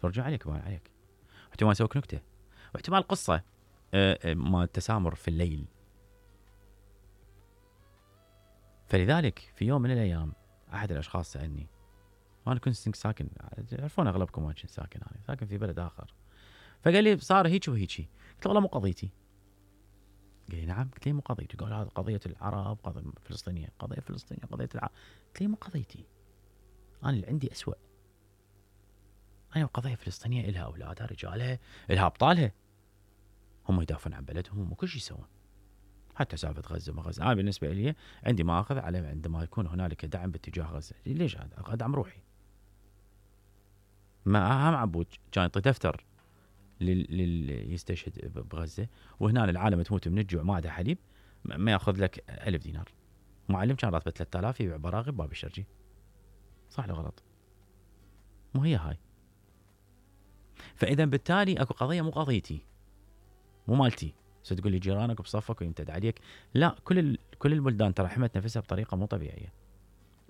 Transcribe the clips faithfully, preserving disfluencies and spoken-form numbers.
فرجوا عليك ما عليك. احتمال يسويك نكته، واحتمال قصه ما التسامر في الليل. فلذلك في يوم من الايام احد الاشخاص سالني، وانا كنت ساكن، تعرفون اغلبكم ما كنت ساكن، انا ساكن في بلد اخر. فقال لي صار هيك وهيك. قلت له والله مو قضيتي. قال لي نعم. قلت له مو قضيتي. قال هذا قضيه العرب، قضيه فلسطينيه، قضيه فلسطينيه، قضيه العرب. قلت له مو قضيتي، انا اللي عندي اسوأ. انا القضيه الفلسطينيه الها اولادها، رجالها، الها ابطالها، هم يدافعون عن بلدهم وكل شيء يسوون. حتى سالفه غزه ما غزه، انا بالنسبه لي عندي ما اخذ على عندما يكون هنالك دعم باتجاه غزه. ليش هذا؟ ادعم روحي. ما اهم عبود كان يعطي دفتر لل يستشهد بغزه، وهنا العالم تموت من الجوع ما عندها حليب، ما ياخذ لك ألف دينار. معلم كان راتبه ثلاثة آلاف يبيع براغي بباب الشرجي. صح ولا غلط؟ مو هي هاي. فاذا بالتالي اكو قضيه مو قضيتي، مو مالتي. ستقول لي جيرانك بصفك ويمتد عليك. لا، كل ال... كل البلدان ترى حمت نفسها بطريقه مو طبيعيه.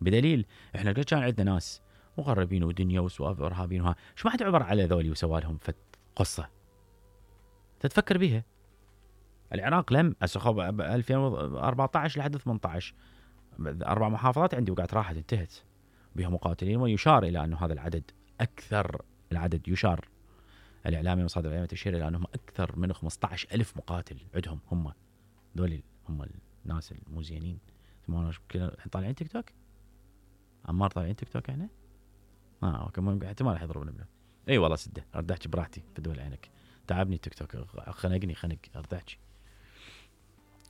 بدليل احنا قد كان عندنا ناس مغربين ودنيا وسوالف ارهابيين وها، شو ما حد عبر على ذولي وسوى لهم فت قصه تتفكر بيها. العراق لم اسخب ألفين وأربعطعش لحد ثمانية عشر اربع محافظات عندي وقعت راحت انتهت بها مقاتلين، ويشار الى انه هذا العدد اكثر. العدد يشار، الاعلامي ومصادر الاعلاميه تشير الى انهم اكثر من خمسة عشر ألف مقاتل عندهم. هم ذول هم الناس المو زينين. احنا طالعين تيك توك، عمار طالعين تيك توك احنا. اه كمان احتمال راح يضربنا بنا. اي والله سده ارد احكي براحتي في دول عينك. تعبني تيك توك، خنقني خنق ارد احكي.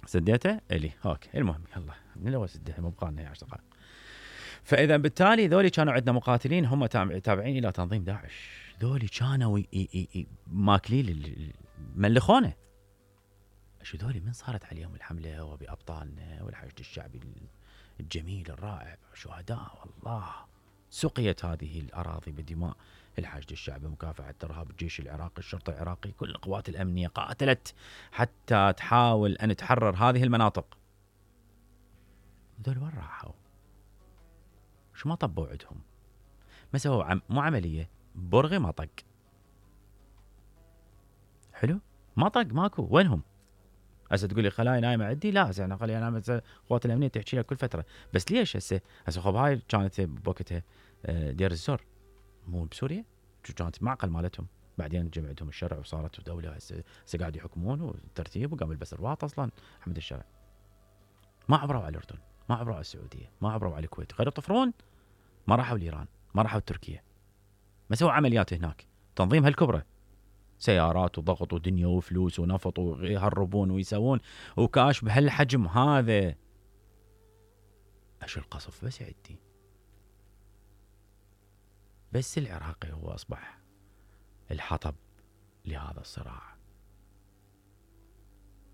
سديته الي اوكي. المهم يلا من الاول سده مو بقالنا هي عشر دقائق. فاذا بالتالي ذولي كانوا عندنا مقاتلين هم تابعين الى تنظيم داعش. ذولي كانوا ماكلين ملخونه. شو ذولي من صارت عليهم الحمله وبابطالنا والحشد الشعبي الجميل الرائع، شهداء والله. سقيت هذه الاراضي بدماء الحشد الشعبي، مكافحه الارهاب، الجيش العراقي، الشرطه العراقي، كل القوات الامنيه قاتلت حتى تحاول ان تحرر هذه المناطق. ذول وين راحوا؟ شو ما طبوا عندهم؟ ما سووا عم... مو عمليه برغي ما طق. حلو ما طق ماكو. وينهم؟ هسه تقول لي خلايا نايمه عندي. لا هسه انا خليها نايمه. القوات الامنيه تحكي لها كل فتره. بس ليش هسه هسه خب هاي كانت بوقتها دير الزور مو بسوريا، شو كانت معقل مالتهم. بعدين جمع عندهم الشرع وصارت دوله. هسه هسه قاعد يحكمون والترتيب وقام يلبس رباط. اصلا حمد الشرع ما عبروا على الاردن، ما عبروا على السعوديه، ما عبروا على الكويت. غير يطفرون ما راحوا لايران، ما راحوا تركيا، ما سووا عمليات هناك. تنظيم هالكبره، سيارات وضغط ودنيا وفلوس ونفط ويهربون ويسوون وكاش بهالحجم هذا. ايش القصف بس عندي. بس العراقي هو اصبح الحطب لهذا الصراع.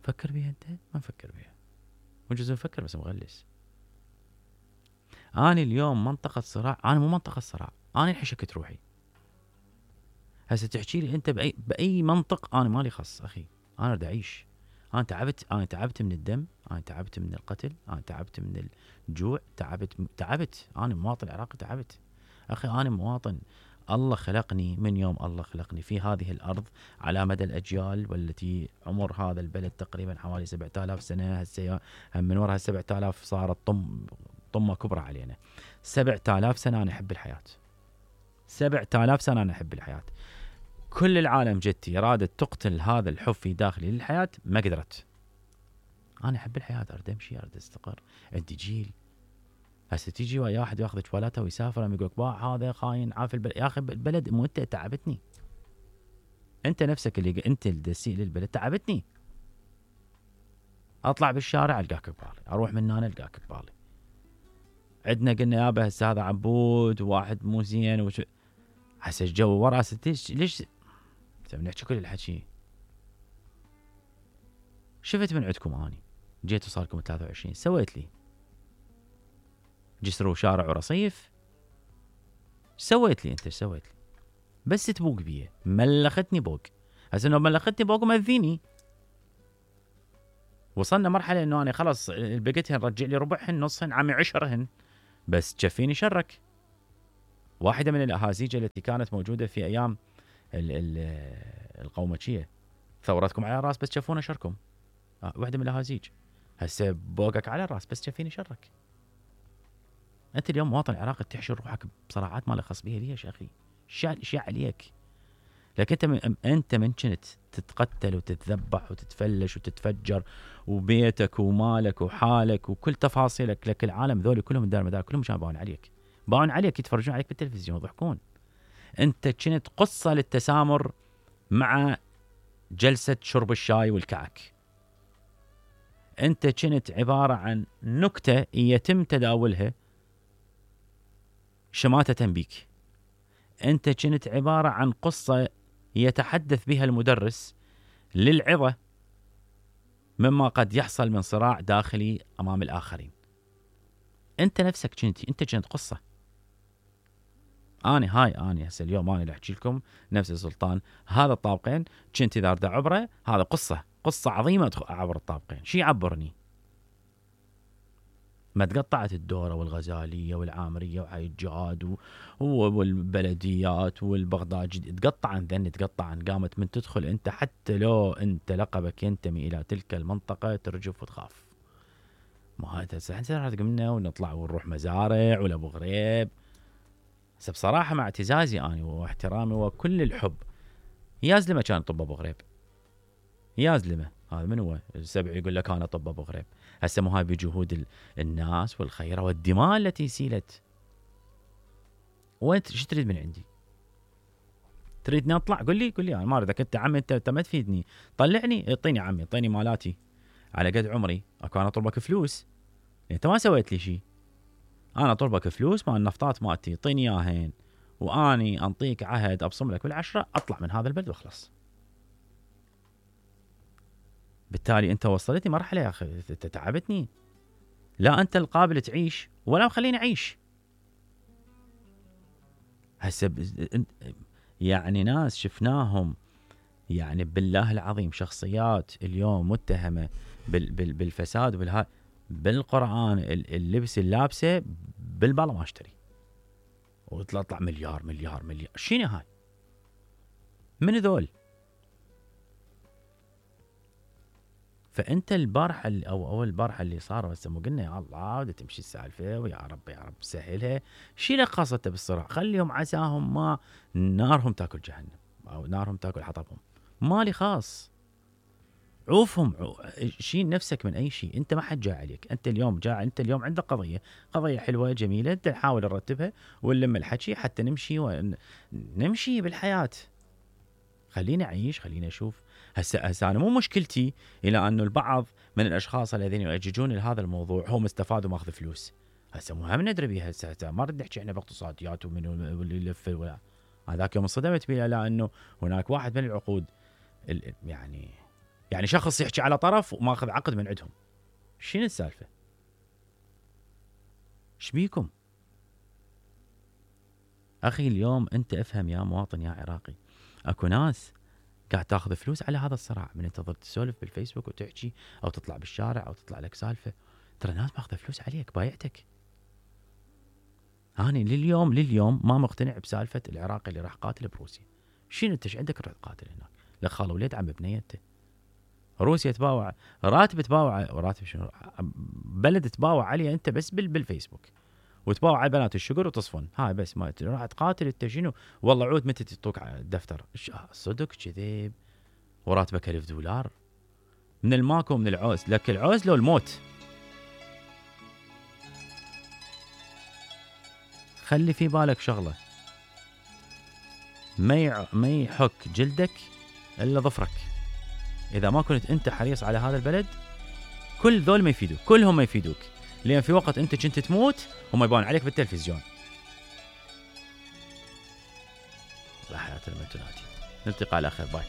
فكر بيها انت؟ ما نفكر بيها. وجزء نفكر بس مغلس. انا اليوم منطقه صراع، انا مو منطقه صراع، انا انحشكت روحي. هسه تحكي لي انت باي باي منطق، انا مالي خص اخي. انا اريد اعيش. انا تعبت، انا تعبت من الدم، انا تعبت من القتل، انا تعبت من الجوع، تعبت تعبت انا مواطن عراقي تعبت. اخي انا مواطن، الله خلقني من يوم الله خلقني في هذه الارض على مدى الاجيال، والتي عمر هذا البلد تقريبا حوالي سبعة آلاف سنه. هسه من وراء سبعة آلاف صارت طم طمه كبرى علينا. سبعة آلاف سنه انا احب الحياه. سبعة آلاف سنه انا احب الحياه. كل العالم جدتي ارادت تقتل هذا الحب في داخلي للحياه، ما قدرت. انا احب الحياه، اريد امشي، اريد استقر، عندي جيل. هسه تيجي ويا واحد ياخذ شوالته ويسافر يقول لك باع هذا خاين عاف البلد. يا اخي البلد مو انت تعبتني. انت نفسك اللي انت الدسي للبلد تعبتني. اطلع بالشارع القاك ببالي، اروح من هنا القاك ببالي. عندنا قلنا يابا هسه هذا عبود وواحد مو زين وش... هسه الجو ورا ستيش ليش نحكي كل الحكي. شفت من عندكم اني جيتوا صار لكم ثلاثة وعشرين، سويت لي جسر وشارع ورصيف. سويت لي انت؟ سويت لي بس تبوق بيه، ملختني بوق. هسه انه ملختني بوق ومذيني. وصلنا مرحله انه انا خلص بقيتهن رجع لي ربعهن نصهن عم عشرهن بس تشفيني شرك. واحده من الاهازيج التي كانت موجوده في ايام القومجيه، ثورتكم على الراس بس تشوفون شركم. آه واحده من الاهازيج، هسه بوقك على الراس بس تشوفيني شرك. انت اليوم مواطن عراقي تحشر روحك بصراعات ما لها خص بيها، ليش يا اخي؟ شو شو عليك؟ لكن انت من انت من كنت تتقتل وتتذبح وتتفلش وتتفجر، وبيتك ومالك وحالك وكل تفاصيلك، لك العالم ذولي كلهم دار مدار كلهم كانوا باون عليك، باون عليك يتفرجون عليك بالتلفزيون يضحكون. انت كنت قصه للتسامر مع جلسه شرب الشاي والكعك. انت كنت عباره عن نكته يتم تداولها شماتة بيك. انت كنت عباره عن قصه يتحدث بها المدرس للعظة مما قد يحصل من صراع داخلي أمام الآخرين. أنت نفسك كنت أنت كنت قصة. أنا هاي أنا هسه اليوم أنا اللي أحكي لكم نفس السلطان، هذا الطابقين كنت إذا أريد أعبره، هذا قصة قصة عظيمة أعبر الطابقين. شي يعبرني؟ ما تقطعت الدورة والغزالية والعامرية وحي الجهاد والبلديات والبغداد، تقطع عن ذن، تقطع عن قامت من تدخل أنت حتى لو أنت لقبك ينتمي إلى تلك المنطقة ترجف وتخاف. ما هذا سحنا قمنا ونطلع ونروح مزارع ولا أبو غريب. بس بصراحة مع اعتزازي أنا واحترامي وكل الحب، يازلمة كان طب أبو غريب، يازلمة هذا من هو السبع يقول لك أنا طب أبو غريب. هسه مو هاي بجهود الناس والخيرة والدماء التي سيلت. وانت شو تريد من عندي؟ تريدني اطلع؟ قل لي قل لي انا ما اريدك انت عمي، انت, انت ما تفيدني، طلعني اعطيني عمي، اعطيني مالاتي على قد عمري. اكو انا اطلبك فلوس؟ انت ما سويت لي شيء. انا اطلبك فلوس مال النفطات مالتي اعطيني اياهن، واني انطيك عهد ابصم لك بالعشره اطلع من هذا البلد واخلص. بالتالي انت وصلتني مرحله يا اخي تعبتني. لا انت القابل تعيش ولا مخليني اعيش. هسه يعني ناس شفناهم يعني بالله العظيم شخصيات اليوم متهمه بالفساد وبالها، بالقران اللبس اللابسه بالبلا ما اشتري وتطلع مليار مليار مليار. شنو هاي؟ من ذول؟ فانت البارحه او اول البارحه اللي صار هسه مو قلنا يا الله ودا تمشي السالفه ويا رب يا رب سهلها. شي له قصته بالصراع؟ خليهم عساهم ما نارهم تاكل جهنم او نارهم تاكل حطبهم، مالي خاص. عوفهم عو... شيل نفسك من اي شيء. انت ما حد جاء عليك، انت اليوم جاء، انت اليوم عندك قضيه قضيه حلوه جميله، انت نحاول نرتبها ونلم الحكي حتى نمشي ونمشي بالحياه. خليني اعيش، خليني اشوف. هسه هسه انا مو مشكلتي الى انه البعض من الاشخاص الذين يؤججون لهذا الموضوع هم استفادوا ماخذ فلوس. هسه مو هم ندري بها. هسه ما نريد نحكي احنا باقتصاديات ومن اللي يلف ولا هذاك يوم انصدمت بها، لانه هناك واحد من العقود يعني يعني شخص يحكي على طرف وماخذ عقد من عندهم. شنو السالفه؟ ايش بيكم اخي؟ اليوم انت افهم يا مواطن يا عراقي، اكو ناس قاعد تاخذ فلوس على هذا الصراع، من انت تظل تسولف بالفيسبوك وتحكي او تطلع بالشارع او تطلع لك سالفه، ترى ناس ماخذه فلوس عليك بايعتك. انا لليوم لليوم ما مقتنع بسالفه العراقي اللي راح قاتل بروسيا. شنو انت ايش عندك تروح تقاتل هناك؟ لك خال وليد عم ببنيته. روسيا تباوع راتب، تباوع راتب شنو؟ بلد تباوع عليه انت بس بالفيسبوك، وتباوع على بنات الشقر وتصفن. هاي بس ما راح تقاتل انت شنو؟ والله عود متى تعطوك دفتر؟ صدق كذب؟ وراتبك ألف دولار من الماكو من العوز، لك العوز لو الموت. خلي في بالك شغله، ما ما يحك جلدك الا ظفرك. اذا ما كنت انت حريص على هذا البلد كل ذول ما يفيدوك، كلهم ما يفيدوك، لان في وقت انت كنت تموت هم يبان عليك بالتلفزيون. لا حياة لمن تنادي. نلتقي على خير، باي.